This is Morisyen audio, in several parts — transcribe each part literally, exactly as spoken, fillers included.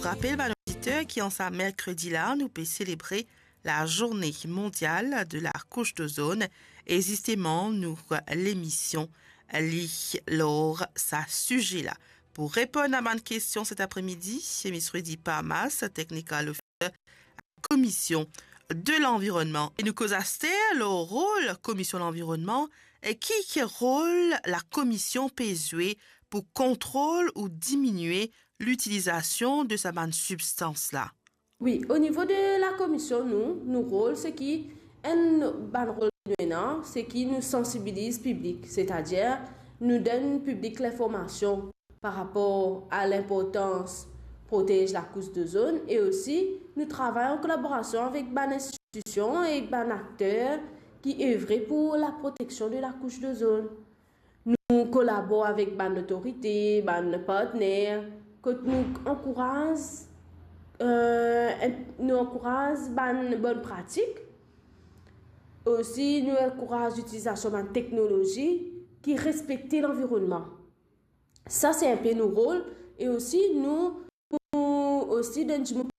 Rapel bann oditer ki an sa merkredi la, nou pe selebre la Journée Mondiale de la Couche d'Ozone, e zisteman nou lemision li lor sa size la. Pou reponn a bann kestion set apremidi, Miss Rudy Parmas, Technical Officer Commission de l'Environnement. E nou koz aster lor rol Komision Lanvironnman e ki, ki rol la Komision pe zwe pou kontrol ou diminie litilizasion de sa bann sibstans la. Wi, o nivo de la Komision, nou, nou rol, se ki enn bann rol nou ena, se ki nou sansibiliz piblik, setadir nou donn piblik linformasion par rapor a linportans protez lakous dozonn, e osi nou travay an kolaborasion avek bann institision e bann akter ki evre pou laproteksion de lakous dozonn. Nou kolabor avek bann lotorite, bann partner, kot nou ankouraz, eh, nou ankouraz bann bonn pratik. Osi, nou ankouraz litilizasion bann teknolozi ki respekte lanvironnman. Sa, se enpe nou rol, e osi nou pou osi donn dimoun,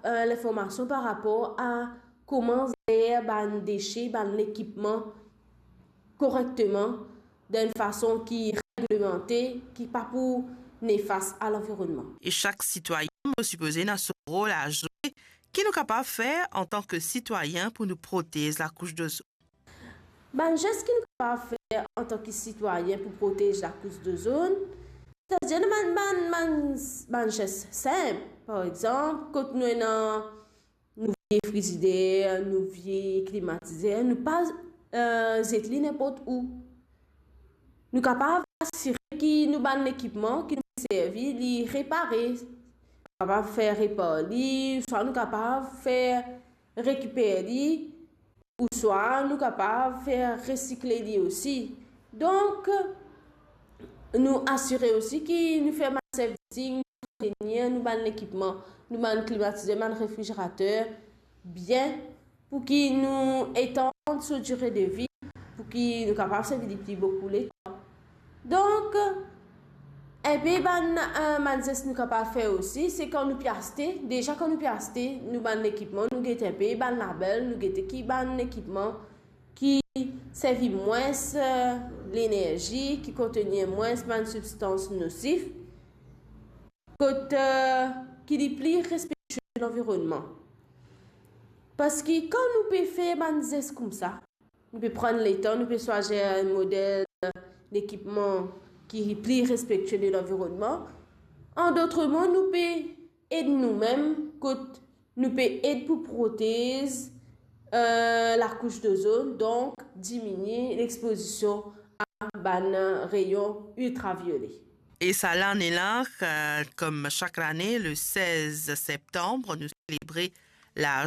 eh, linformasion par rapor a kouma zer bann dese, bann lekipman korekteman, dan enn fason ki reglemante, ki pa pou nefas a lanvironnman. E sak sitwayen, mo sipoze, ena so rol a zwe. Ki nou kapav fer antan ki sitwayen pou nou protez lakous dozonn? Bann zes ki nou kapav fer antan ki sitwayen pou protez lakous dozonn, setadir bann, bann, bann, bann zes sinp. Par exanp, kot nou ena nou vie frizider, nou vie klimatizer, nou pa, eh, zet li ninport ou. Nou kapav asire ki nou bann lekipman ki nou servi, li repare. Kapav fer repar li, swa nou kapav fer rekiper li, ouswa nou kapav fer resikle li osi. Donk, nou asire osi ki nou fer bann servicing, antrenir nou bann lekipman, nou bann klimatizer, bann refrizerater bien, pou ki nou etann so dire de vi, pou ki nou kapav servi li pli boukou letan. Donk, enpe bann, eh, bann zes nou kapav fer osi, se kan nou pe aste, deza kan nou pe aste nou bann lekipman, nou gete enpe bann label, nou gete ki bann lekipman ki servi mwins, eh, lenerzi, ki kontenir mwins bann sibstans nosif, kot, eh, ki li pli respektie lanvironnman. Parski kan nou pe fer bann zes koumsa, nou pe pran letan, nou pe swazir enn model lekipman ki pli respektie de lanvironnman. An dot mo, nou pe ed noumem, kot nou pe ed pou protez, eh, lakous dozonn, donk diminie lexpozision a bann reyon iltraviole. E sa lane la, eh, kom sak lane, le sez septanm, nou selebre la